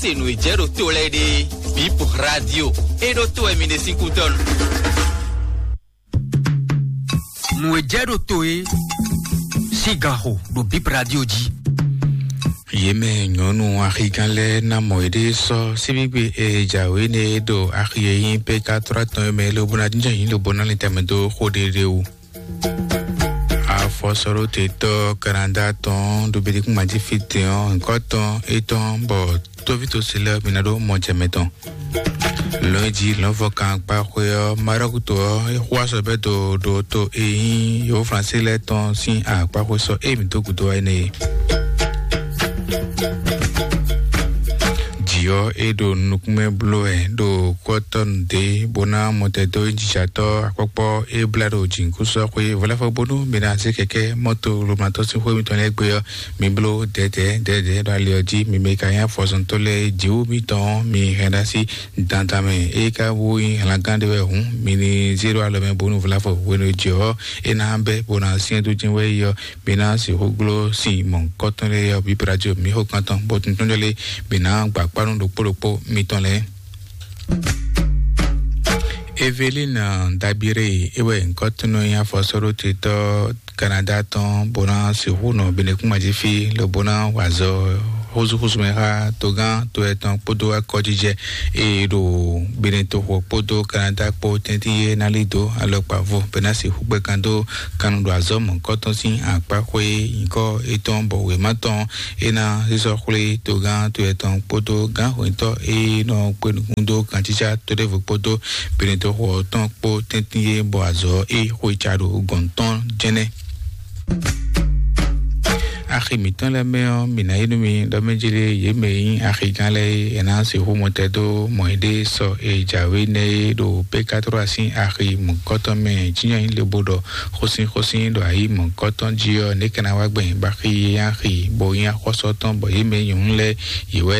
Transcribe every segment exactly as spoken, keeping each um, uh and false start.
Se nǔ e jɛ ɖo to lɛ́ɛ ɖe, Bip Radio, e ɖo to wɛ mi ɖe sín kútɔ́ nu. Nǔ e jɛ ɖo to e sín ganxo ɖo Bip Radio jí. Yě mɛ nyɔ̌nu axigán lɛ́ɛ ná mɔ yěɖée sɔ́ síbígbe e jǎwe nɛ e ɖo axi e nyí P K trois tɔn e mɛ lobo ná jínjɔ́n yǐ lobo ná lin tɛnmɛ dó xó ɖéɖé wú. Afɔsɔɖótetɔ́ Kanada tɔn ɖo Betekúngbajifí tɛn ɔ́, nyǐkɔ tɔn étɔn bɔ tóvítósi lɛ́ɛ mi ná ɖó mɔjɛmɛ tɔn. Lɔ̌nyijǐ lɔ̌nfɔkan akpáxwé ɔ́, Marɔ́ku to ɔ́, é xo azɔ̌ bɛ́ do ɖo to e nyí Yǒflansí lɛ́ɛ tɔn sín akpáxwé sɔ́ émí dó gǔdo wá énɛ́ é. Jǐ ɔ́, é ɖo nukúnmɛ bló wɛ ɖo kɔ́tɔ́nu dě bó ná mɔtɛn dó jijatɔ́ akpɔ́kpɔ́ é blá ɖo jǐnukúnsin ɔ́ xwé vɔ̌lɛ́fɔ bónú mi ná zé kɛkɛ́ mɔ́to lomatɔ́ sín xwé mitɔn lɛ́ɛ gbé ɔ́, mi bló dɛ̌dɛ̌ dɛ̌dɛ̌ ɖo ali ɔ́ jí. Mi mɛ ka nyí afɔzɔntɔ́ lɛ́ɛ jǐwú mitɔn ɔ́, mi hɛn ɖó así dandan mɛ. É ka bó nyí hlangán ɖé wɛ hǔn, mi ní zé ɖó alɔ mɛ bónú vɔ̌lɛ́fɔ hwenu e jǐ ɔ́ é ná bɛ́ bó ná syɛ́n dó jɛ́n wɛ yi ɔ́, mi ná sixú gló sin mɔ̌hunkɔtɔn lɛ́ɛ ɔ́ bǐ Brazil mǐ xo kan tɔn, bó tuntun jɔ lé mi ná gba kpá nú ɖokpó ɖokpó mitɔn lɛ́ɛ. Evelina Dabire, é wɛ nyǐkɔ́tɔ́ nɔ nyí afɔsɔ́ɖótetɔ́ Kanada tɔn, bó ná sixú nɔ Benekúnmají fí, lobo ná wa azɔ̌ xúzúxúzú mɛ xá togán to etɔn kpódó akɔjijɛ e ɖo Benetoxo kpódó Kanada kpó tɛ́ntin e ná lí dó alɔkpa vo bɔ é ná sixú gbɛ́ kan dó kan nu ɖo azɔ̌ mɔ̌hunkɔtɔn sín akpáxwé nyǐkɔ étɔn bɔ wěma tɔn é ná sísɔ́ xwlé togán to etɔn kpódó gǎnhwɛntɔ́ e nɔ kpé nukún dó gancícá to ɖěvo kpódó Benetoxo ɔ́ tɔn kpó tɛ́ntin e bɔ azɔ̌ e xwe ca ɖo gɔ̌n tɔn jɛnɛ. Axi mǐtɔn lɛ́ɛ mɛ ɔ́, mǐ ná yí nú mi ɖɔ mɛ jlé yě mɛ e nyí axigán lɛ́ɛ é, è nǎ sixú mɔtɛn dó mɔ yěɖée sɔ e jǎwe nɛ́ é ɖo P K trois sín axi mɔ̌kɔtɔn mɛ. Jínjɔ́n nyí lobo ɖɔ xósínxósín ɖo ayǐ mɔ̌kɔtɔn jí ɔ́, nɛ̌ ka ná wá gbɛn bɔ axi e nyí axi bó nyí axɔ́sú tɔn bɔ yě mɛ e nyí nyɔ̌nu lɛ́ɛ yě wɛ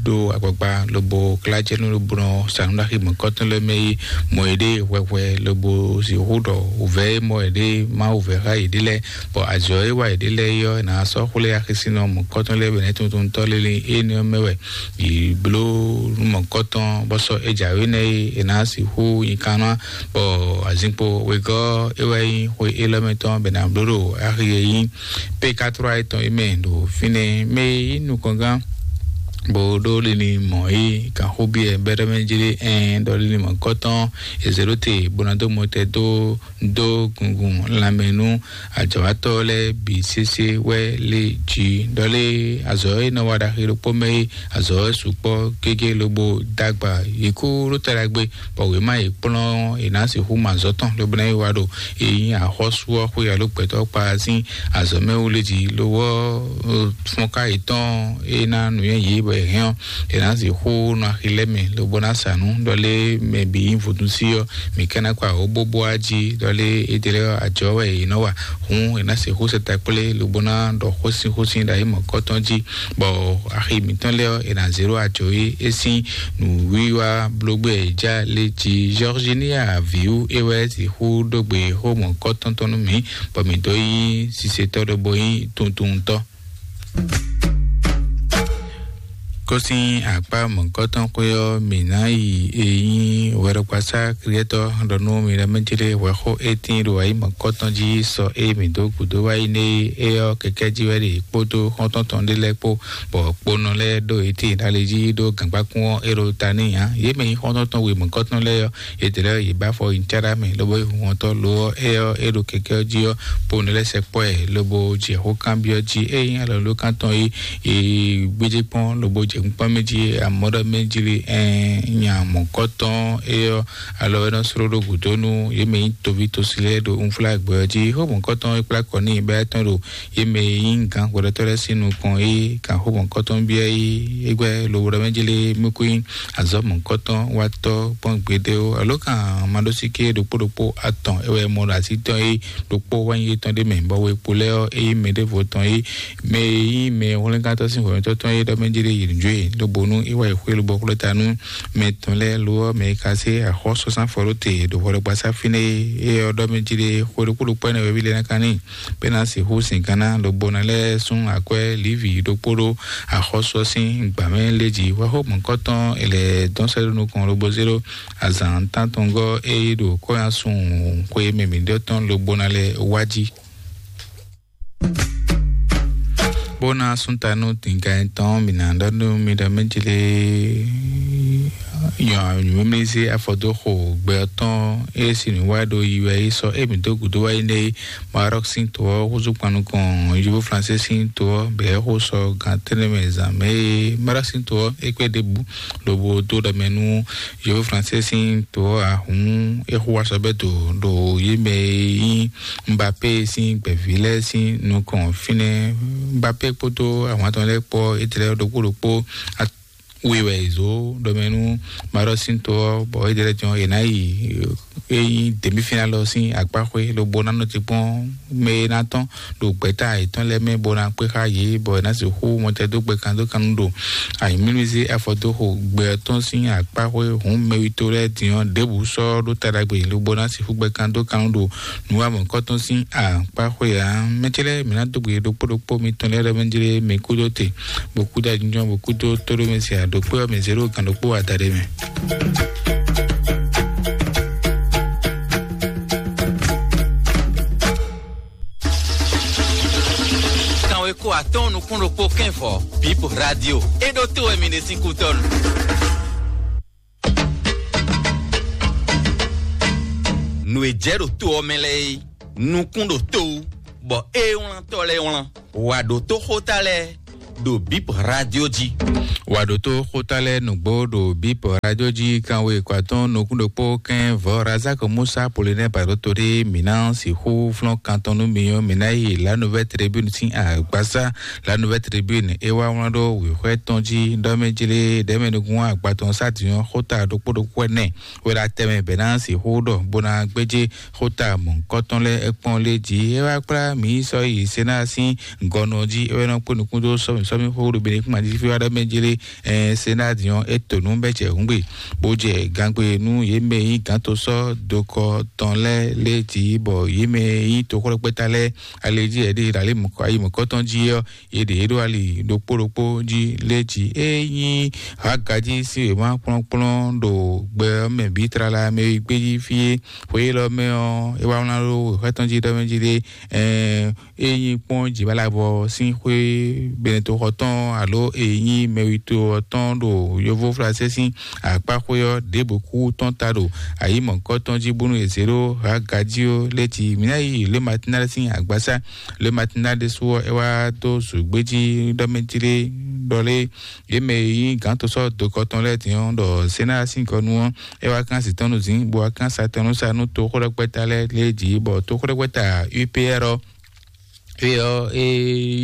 ɖó agbagba lobo klá jɛ nú lobo nɔ sa nǔ ɖo axi mɔ̌kɔtɔn lɛ́ɛ mɛ é, mɔ yěɖée hwɛhwɛ lobo sixú ɖɔ wǔvɛ́ e mɔ yěɖée má wǔvɛ́ xá yěɖée lɛ́ɛ. Bɔ azɔ̌ e wa yě ɖe lɛ́ɛ é ɔ́, è nǎ sɔ́ xwlé axisínɔ mɔ̌kɔtɔn lɛ́ɛ bɔ nɛ̌ tuntun tɔ́ lélé énɛ́ ɔ́ mɛ wɛ yě bló nú mɔ̌kɔtɔn bɔ sɔ́ é jǎwe nɛ́ é è nǎ sixú nyi kan ná. Bɔ azinkpo wegɔ́ é wɛ nyí xwe élɔ́ mɛ tɔn bɔ è nǎ bló ɖo axi e nyí P K trois étɔn é mɛ ɖo fínɛ́. Mɛ e nyí nukɔngán bó ɖó lili mɔ̌ é kan xó byɔ́ bɛ́ɖɔ́ mɛ jlé ɛn ɖɔ lili mɔ̌kɔtɔn è zě ɖó te bó ná dó mɔtɛn dó dó gungun lanmɛ nú ajɔ̌watɔ́ lɛ́ɛ bǐ sésé wɛ lé jí. Ɖɔ lé azɔ̌ e nɔ wa ɖaxi ɖokpó mɛ é, azɔ̌ e sukpɔ́ gégé lobo dó agba yě kú ɖó ta ɖagbe, bɔ wěma e kplɔ́n è nǎ sixú mɔ azɔ̌ tɔn lobo ná yi wa ɖo e nyí axɔ́sú ɔ́ xwé alo gbɛtɔ́ kpa sín azɔ̌ mɛ wú lé jí. Lo ɔ́, fɔ́nká yětɔn e ná nǔnywɛ́ yě bɔ è hɛn ɔ́, è nǎ sixú nɔ axi lɛ́ɛ mɛ lobo ná sa nǔ. Ɖɔ lé mɛ bǐ nyí vodúnsi ɔ́, mǐ ka ná kɔ awǒ bóbó á jí. Ɖɔ lé éɖée lɛ́ɛ ɔ́, ajɔ̌ wɛ è nɔ wa. Hǔn è nǎ sixú sɛ ta kplé lobo ná ɖɔ xósínxósín ɖo ayǐ mɔ̌kɔtɔn jí, bɔ axi mǐtɔn lɛ́ɛ ɔ́, è nǎ zé ɖó ajɔ̌ e é sín nǔwiwa bló gbé e já lé jí. Georginia Viu é wɛ sixú ɖó gbe xó mɔ̌kɔtɔn tɔn nú mǐ, bɔ mǐ dó nyí sisetɔ́ ɖɔhun bó nyí tuntuntɔ́. Kó sín akpá mɔ̌hunkɔtɔn xwé ɔ́, mǐ ná yi e nyí hwɛɖɔkpasá Kliɛtɔ́ ɖɔ nú mi ɖɔ mɛ jlé hwɛxó e tíin ɖo ayǐ mɔ̌hunkɔtɔn jí sɔ e mǐ dó gǔdo wá yi nɛ́ é ɔ́, kɛkɛ́ jí wɛ ɖe kpódó xɔ́ntɔn tɔn ɖé lɛ́ɛ kpó, bɔ kponɔ lɛ́ɛ ɖo ití ɖ'ali jí ɖó gǎngbákún ɔ́ é ɖo ta n'i ǎ. Yě mɛ nyí xɔ́ntɔn tɔn we mɔ̌hunkɔtɔn lɛ́ɛ ɔ́, yětɛ́ lɛ́ɛ yě bá fɔ nyi cáɖá mɛ, lobo yi hun ɔ́tɔn lo ɔ́, é ɔ́, é ɖo kɛkɛ́ ɔ́ jí ɔ́, po nǔ lɛ́ɛ sɛkpɔ́ ɛ, lobo jɛ xó kanbyɔ́ jí. Ényí alɔ̌lókan tɔn e è gbéjé kpɔ́n, lobo jɛ kpínkpɔ́n mɛ jí, amɔ̌ ɖɔ mɛ jí lé, ɛn, nya mɔ̌kɔ́tɔn é ɔ́, alɔ é nɔ sló ɖó gǔdo nú yě mɛ nyí toví tosi lɛ́ɛ ɖo unflágbɛ ɔ́ jí. Xó mɔ̌kɔ́tɔn é kplá kɔ n'i bɔ é tɔn ɖo yě mɛ e nyí gǎn hwɛɖɔtɔ́ lɛ́ɛ sín nukɔn é kan xó mɔ̌kɔtɔn byɔ́ é égbɛ́ lobo ɖɔ mɛ jí lé mɛ kú nyí azɔ̌ mɔ̌kɔtɔn wátɔ́ kpɔ́n gbeɖé ó. Alo kan maɖósíké ɖokpó ɖokpó atɔn é wɛ mɔ ɖo así tɔn é ɖokpó wá nyí étɔn ɖé mɛ, bɔ wěkpo lɛ́ɛ ɔ́ é nyí mɛ ɖěvo tɔn é mɛ e nyí mɛ hwlɛ́ngántɔ́ sín hwɛ̌mɛtɔ́ tɔn é ɖɔ mɛ jí lé yi nǔ yě lobonu é wá yi xwé lobɔ xwlé ta nú mɛ tɔn lɛ́ɛ lo ɔ́, mɛ e ka zé axɔ́súzán fɔ ɖó te ɖo hwɛɖɔgbasá fínɛ́ é ɔ́ ɖɔ mɛ jí ɖé xwé ɖokpó ɖokpó ɛnɛ wɛví lɛ́ɛ ná ká n'i bɔ é ná sixú sin gán ná lobo ná lɛ́ sún akwɛ́ Livi ɖokpó ɖó axɔ́sú ɔ́ sín gbǎ mɛ lé jí. Wɛxó mɔ̌kɔtɔn è lɛ̌ dɔn sɛ́ ɖó nukɔn lobo zé ɖó azǎn tántɔngɔ́ e yí ɖo kɔ́nyásun xwé mɛ mǐɖɔtɔn lobo ná lɛ́ wá jí. Bó ná sún ta nú dǐngán tɔn, mǐ ná ɖɔ nú mi ɖɔ mɛ jlé nyɔ nyǔmísí afɔdóxo gbɛ ɔ́ tɔn e sin nǔ wá ɖo yi wɛ yi sɔ́ e mǐ dó gǔdo wá yi nɛ́ Maroc sín to ɔ́ húzú kpan nukɔn Yovo Flansé sín to ɔ́ bɛ̌ xó sɔ gǎn tɛ́nɛ mɛ zǎn mɛ e Maroc sín to ɔ́ é kpé ɖěbǔ lobo dó ɖɔ mɛ nú Yovo Flansé sín to ɔ́ ahǔn é xo wá sɔ bɛ́ do ɖo yě mɛ e nyí Mbappé sín gbɛ̌ví lɛ́ɛ sín nukɔn fínɛ́. Mbappé kpódó ahwan tɔn lɛ́ɛ kpó étɛ́ lɛ́ɛ ɖokpó ɖokpó wi wɛ è zǒ ɖɔmɛ nú Maroc sín to ɔ́, bɔ étɛ́ lɛ́ɛ tɔn è nǎ yi é nyí demi-finale ɔ́ sín akpá xwé lobo ná nɔ te kpɔ́n mɛ e ná tɔ́n ɖo gbɛ̌ta yětɔn lɛ́ɛ mɛ bó ná kpé xá yě, bɔ è nǎ sixú mɔtɛdógbɛ kan dó kan nú ɖo ayǐmlúmízé afɔdóxo gbɛ ɔ́ tɔn sín akpá xwé hǔn mɛwító lɛ́ɛ din ɔ́ ɖěbǔ sɔ́ ɖó ta ɖagbe lobo ná sixú gbɛ kan dó kan nú ɖo nǔwamɔ̌kɔ́ tɔn sín akpá xwé ǎ. Mɛ ce lɛ́ɛ mǐ ná dó gbe ɖokpó ɖokpó mitɔn lɛ́ɛ ɖɔ mɛ jlé mǐ kúdó te, bó kúdó ajínjɔ́n, bó kúdó tóɖó mɛ se aɖokpé ɔ́ mɛ zéro gǎn ɖokpó adaɖé mɛ. Kanweko atɔ́ɔ́n nukún ɖokpó kɛ́nvɔ Bip Radio. É ɖó to wɛ mi ɖe sín kútɔ́nu. Nǔ e jɛ ɖo to ɔ́ mɛ lɛ́ɛ é, nukún ɖo to wú, bɔ é wlán tɔ́ lɛ́ɛ wlán. Wǎ ɖó tó xóta lɛ́ɛ ɖo Bip Radio jí. Wǎ ɖó tó xóta lɛ́ɛ nǔgbó ɖo Bip Radio jí. Kanwe kɔ atɔ́ɔ́n nukún ɖokpó kɛ́n vɔ̌ Razak Musa Polinɛ Barotori mǐ ná sixú flɔ́n kan tɔn nú mi ɔ́, mǐ ná yi La Nouvelle Tribune sín agbasá. La Nouvelle Tribune é wá wlán ɖó wěxwɛ́ tɔn jí ɖɔ mɛ jlé ɖɛ̌mɛ nukún agba tɔn sá dǐn ɔ́ xóta ɖokpó ɖokpó ɛnɛ wɛ ɖo atɛ mɛ bɛ̌ ná sixú ɖɔ bó ná gbéjé xóta mɔ̌hunkɔtɔn lɛ́ɛ é kpɔ́n lé jí. É wá kplá mǐ yi sɔ́ yi Senáa sín gɔnɔ jí, é wɛ nɔ kpé nukún dó sɔ́mì sɔ́mì xó ɖo Benɛkúma jí fí wá ɖɔ mɛ jlé. Senáa din ɔ́, é to nǔ bɛ́ jɛ hǔngbe, bó jɛ gangbe nú yě mɛ e nyí gǎntosɔ́ dokɔ tɔn lɛ́ɛ lé jí, bɔ yě mɛ e nyí toxwlɛ́kpɛ́ta lɛ́ɛ ali jí ɛɖí ɖo ayi mɔ̌kɔtɔn jí ɔ́, yě ɖě ɖó ali ɖokpó ɖokpó jí lé jí. É nyí Hagají sín wěma kplɔ́nkplɔ́n ɖo gbɛ ɔ́ mɛ bǐ tlala mɛ e gbé jí fí é. Xwe élɔ́ mɛ ɔ́, é wá wlán ɖó wěxwɛ́ tɔn jí ɖɔ mɛ jí ɖé, é nyí kpɔ́n jǐbalabɔ sín xwé Benɛtoxɔ tɔn alo é nyí mɛwito ɔ́ tɔn ɖo yovo Flansé sín akpáxwé ɔ́ ɖěbǔ kú tɔn ta ɖo ayǐ mɔ̌kɔ́ tɔn jí bónú è zě ɖó Hagají ó lɛ́ jí. Mǐ ná yi Le Matinal sín agbasá. Le Matinal ɖésú ɔ́, é wá dó zǔgbéjí ɖɔ mɛ jí ɖé ɖɔ lé yě mɛ e nyí gǎntosɔ́ dokɔ tɔn lɛ́ɛ din ɔ́ ɖɔ Senáa sín gɔnu ɔ́, é wá kán zǐn tɔn nú zǐn, bó wá kán sa tɔn nú sa nú toxóɖɛkpɛ́ta lɛ́ɛ lě jí, bɔ toxóɖɛkpɛ́ta U P R ɔ́, é ɔ́, é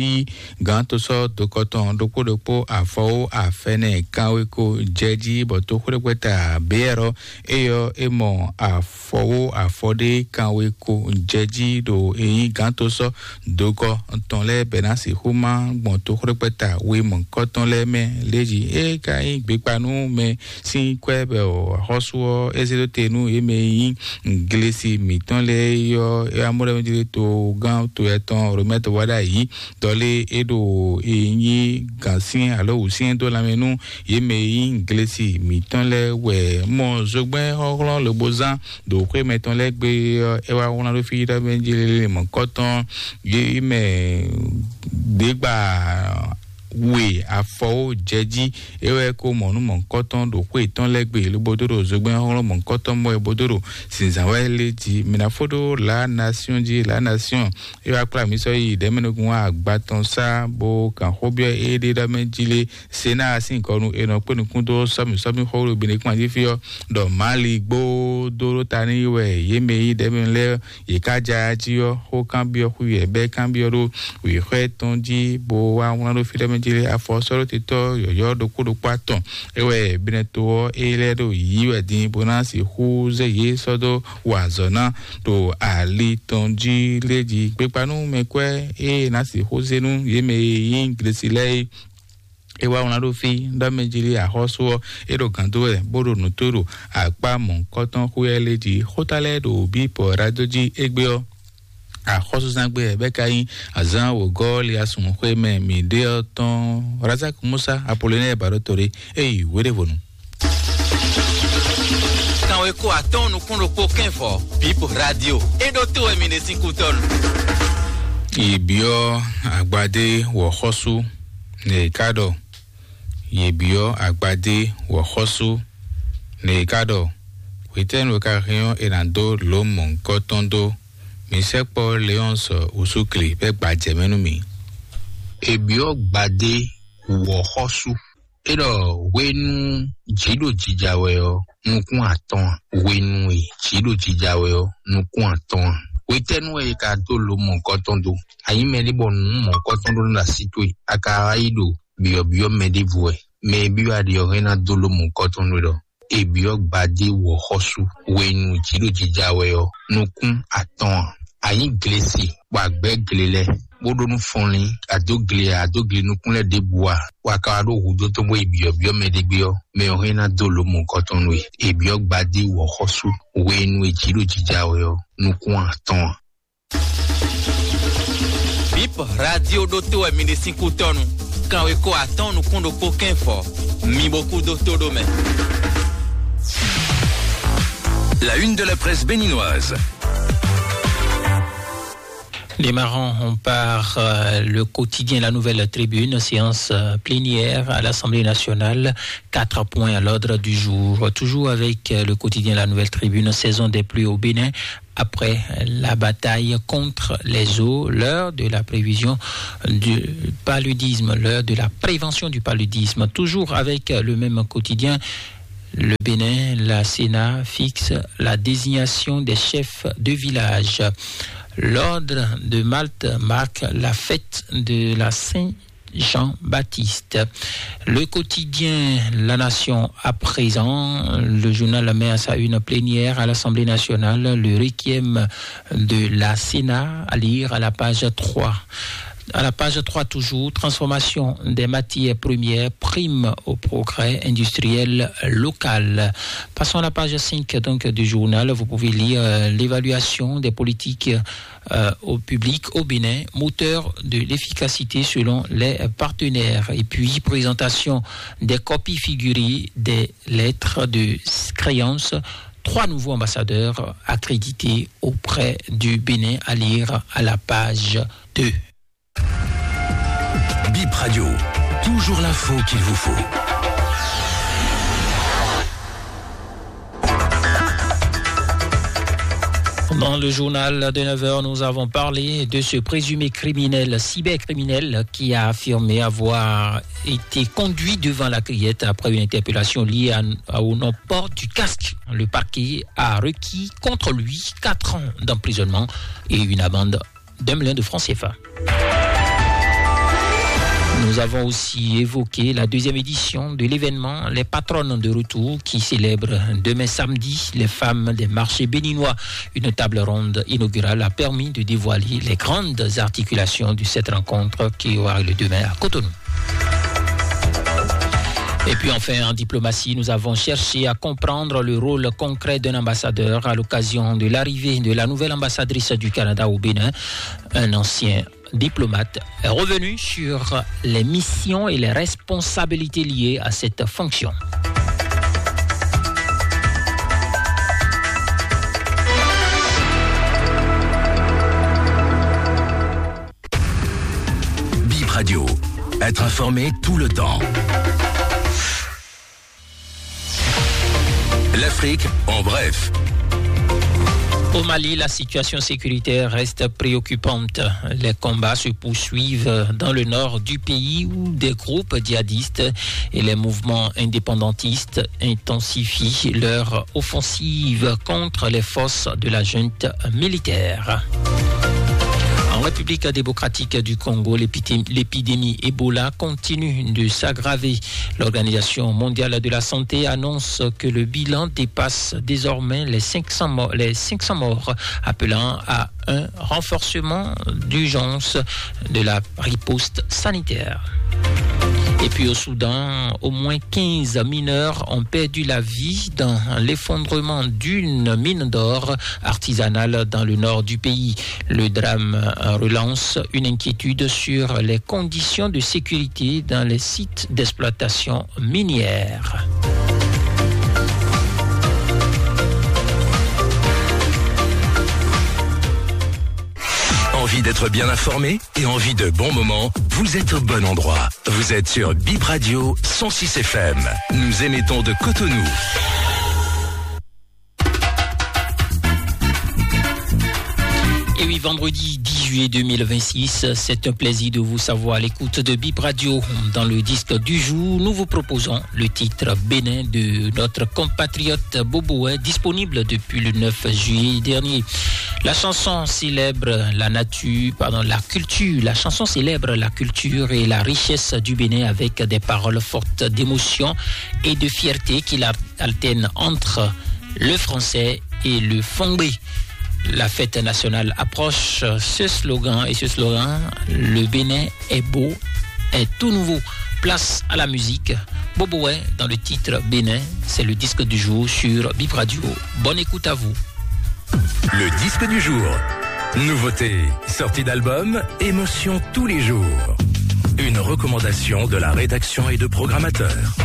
nyí gǎntosɔ́ dokɔ tɔn ɖokpó ɖokpó afɔwó afɛnɛ kanweko jɛ jí, bɔ toxóɖɛkpɛ́ta B R ɔ́, é ɔ́, é mɔ afɔwó afɔɖé kanweko jɛ jí ɖo é nyí gǎntosɔ́ dokɔ tɔn lɛ́ɛ bɛ ná sixú má gbɔn toxóɖɛkpɛ́ta we mɔ̌kɔtɔn lɛ́ɛ mɛ lě jí. É ka nyí gbekpa nú mɛ sín kwɛ́ bɔ axɔ́sú ɔ́ é zé dó te nú yě mɛ e nyí glesi mǐtɔn lɛ́ɛ é ɔ́, é wá mɔ ɖɔ mɛ jlé togán to etɔn Romɛ́ to wá ɖ'ayǐ. Dɔlé é ɖo é nyí gǎnsyɛ́n alo wǔsyɛ́n dó lanmɛ nú yě mɛ e nyí glesi mǐtɔn lɛ́ɛ wɛ mɔ zogbɛ́n xɔ́xlɔ́n lobo zán ɖo xwé mɛtɔn lɛ́ɛ gbe ɔ́, é wá wlán ɖó fí ɖɔ mɛ jlé mɔ̌kɔtɔn yě mɛ ɖě gba we afɔwo jɛ jí. É wɛ ko mɔ nú mɔ̌kɔtɔn ɖo xwé tɔn lɛ́ɛ gbe lobo dó ɖo zogbɛ́n xɔ́xlɔ́n mɔ̌kɔtɔn mɔ é bó dó ɖo zǐnzán wɛ lé jí. Mǐ ná fó ɖó La Nation jí. La Nation é wá kplá mǐ sɔ́ yi ɖɛ̌mɛnukún agba tɔn sá bó gǎn xó byɔ́ éɖée ɖɔ mɛ jí lé. Senáa sín gɔnu è nɔ kpé nukún dó sɔ́mì sɔ́mì xó ɖo Benɛkúma jí fí ɔ́, ɖɔ Mali gbó dó ɖó ta n'i wɛ yě mɛ e nyí ɖɛ̌mɛnu lɛ́ɛ yě ká ja jí ɔ́, xó kanbyɔ́ xwí wɛ bɛ́ kanbyɔ́ ɖó wěxwɛ́ tɔn jí, bó wá wlán ɖó fí ɖɔ mɛ jí lé afɔ sɔ́ ɖó titɔ́ yɔ̌yɔ́ ɖokpó ɖokpó atɔn. É wɛ Benɛto ɔ́, é lɛ́ ɖo yǐ wɛ din bó ná sixú zé yě sɔ́ dó wa azɔ̌ ná ɖo ali tɔn jí lé jí. Gbekpa nú mɛkwɛ́ e ná sixú zé nú yě mɛ e nyí Glesi lɛ́ɛ é. É wá wlán ɖó fí ɖɔ mɛ jí lé axɔ́sú ɔ́, é ɖo gǎn dó wɛ bó ɖo nǔ tó ɖo akpá mɔ̌hunkɔtɔn xwé ɔ́ lé jí. Xóta lɛ́ɛ ɖo bǐ pɔ́ ɖadó jí égbé ɔ́, axɔ́súzán gbé wɛ bɛ́ ka nyí azǎn wǒgɔ́ lé asúnxwé mɛ mǐ ɖe ɔ́ tɔn. Razak Musa Apolonɛ́ɛ Baɖótore é yi wěɖévonu. Kanweko atɔ́ɔ́n nukún ɖokpó kɛ́nvɔ, Bip Radio. É ɖó tó wɛ mi ɖe sín kútɔ́nu. Yě byɔ́ agbadé wɔ̌xɔ́sú, nɛ è ká ɖɔ. Yě byɔ́ agbadé wɔ̌xɔ́sú, nɛ è ká ɖɔ. Hwetɛ́nu e ka hɛn ɔ́, è nǎ dó lǒ mɔ̌hunkɔtɔn dó. Mi sɛkpɔ́ Leɔ́nsɔ Usúkli bɛ́ gbajɛ mɛ nú mì. È byɔ́ gbadé wɔ̌xɔ́sú. É ɖɔ hwenu jǐ ɖo jija wɛ ɔ́, nukún atɔ́ɔ́n ǎ. Hwenu e jǐ ɖo jija wɛ ɔ́, nukún atɔ́ɔ́n ǎ. Hwetɛ́nu wɛ è ka dó lǒ mɔ̌hunkɔtɔn dó? A nyǐ mɛɖé bɔ nǔ mɔ̌hunkɔtɔn ɖó nú así towe, a ka wá yi ɖo byɔ̌byɔ́ mɛ ɖěvo wɛ. Mɛ e byɔ́ a ɖe ɔ́ hɛn ná dó lǒ mɔ̌hunkɔtɔn nú we ɖɔ è byɔ́ gbadé wɔ̌xɔ́sú hwenu jǐ ɖo jija wɛ ɔ́, nukún atɔ́ɔ́n ǎ. A nyǐ glesi, bɔ a gbɛ̌ gle lɛ́ɛ, bó ɖó nú fɔnlín, a dó gle, a dó gle nukún lɛ́ɛ ɖěbǔ ǎ, bɔ a ka wá ɖó hudó tɔn bó yi byɔ̌byɔ́ mɛ ɖé gbé ɔ́, mɛ ɔ́ hɛn ná dó lǒ mɔ̌hunkɔtɔn nú we. È byɔ́ gbadé wɔ̌xɔ́sú hwenu e jǐ ɖo jija wɛ ɔ́, nukún atɔ́ɔ́n ǎ. Bip Radio ɖó tó wɛ mi ɖe sín kútɔ́nu. Kanweko atɔ́ɔ́n nukún ɖokpó kɛ́nvɔ. Mi bo kú dó tó ɖó mɛ. La une de la presse béninoise. Démarrons par euh, le quotidien La Nouvelle Tribune, séance euh, plénière à l'Assemblée nationale, quatre points à l'ordre du jour. Toujours avec euh, le quotidien La Nouvelle Tribune, saison des pluies au Bénin, après la bataille contre les eaux, l'heure de la prévision du paludisme, l'heure de la prévention du paludisme. Toujours avec le même quotidien, le Bénin, la Sénat fixe la désignation des chefs de village. L'ordre de Malte marque la fête de la Saint Jean-Baptiste. Le quotidien La Nation à présent, le journal la met à sa une plénière à l'Assemblée nationale, le requiem de la Sénat à lire à la page trois. À la page trois toujours, transformation des matières premières, prime au progrès industriel local. Passons à la page cinq donc du journal, vous pouvez lire euh, l'évaluation des politiques euh, au public au Bénin, moteur de l'efficacité selon les partenaires. Et puis, présentation des copies figurées des lettres de créance. Trois nouveaux ambassadeurs accrédités auprès du Bénin à lire à la page deux. Bip Radio, toujours l'info qu'il vous faut. Dans le journal de neuf heures, nous avons parlé de ce présumé criminel, cybercriminel, qui a affirmé avoir été conduit devant la criette après une interpellation liée à, à- au non-port du casque. Le parquet a requis contre lui quatre ans d'emprisonnement et une amende d'un million de francs C F A. Nous avons aussi évoqué la deuxième édition de l'événement Les Patronnes de Retour qui célèbre demain samedi les femmes des marchés béninois. Une table ronde inaugurale a permis de dévoiler les grandes articulations de cette rencontre qui aura lieu demain à Cotonou. Et puis enfin, en diplomatie, nous avons cherché à comprendre le rôle concret d'un ambassadeur à l'occasion de l'arrivée de la nouvelle ambassadrice du Canada au Bénin, un ancien diplomate est revenu sur les missions et les responsabilités liées à cette fonction. Bip Radio, être informé tout le temps. L'Afrique en bref. Au Mali, la situation sécuritaire reste préoccupante. Les combats se poursuivent dans le nord du pays où des groupes djihadistes et les mouvements indépendantistes intensifient leur offensive contre les forces de la junte militaire. En République démocratique du Congo, l'épidémie Ebola continue de s'aggraver. L'Organisation mondiale de la santé annonce que le bilan dépasse désormais les cinq cents morts, les cinq cents morts, appelant à un renforcement d'urgence de la riposte sanitaire. Et puis au Soudan, au moins quinze mineurs ont perdu la vie dans l'effondrement d'une mine d'or artisanale dans le nord du pays. Le drame relance une inquiétude sur les conditions de sécurité dans les sites d'exploitation minière. Envie d'être bien informé et envie de bons moments ? Vous êtes au bon endroit. Vous êtes sur Bip Radio cent six F M. Nous émettons de Cotonou. Et oui, vendredi dix juillet deux mille vingt-six, c'est un plaisir de vous savoir à l'écoute de Bip Radio. Dans le disque du jour, nous vous proposons le titre Bénin de notre compatriote Boboé, disponible depuis le neuf juillet dernier. La chanson célèbre la nature, pardon, la culture. La chanson célèbre la culture et la richesse du Bénin avec des paroles fortes d'émotion et de fierté qui la- alternent entre le français et le fongbe. La fête nationale approche. Ce slogan et ce slogan, le Bénin est beau, est tout nouveau. Place à la musique. Boboé dans le titre Bénin, c'est le disque du jour sur Bip Radio. Bonne écoute à vous. Le disque du jour. Nouveauté, sortie d'album, émotion tous les jours. Une recommandation de la rédaction et de programmateurs.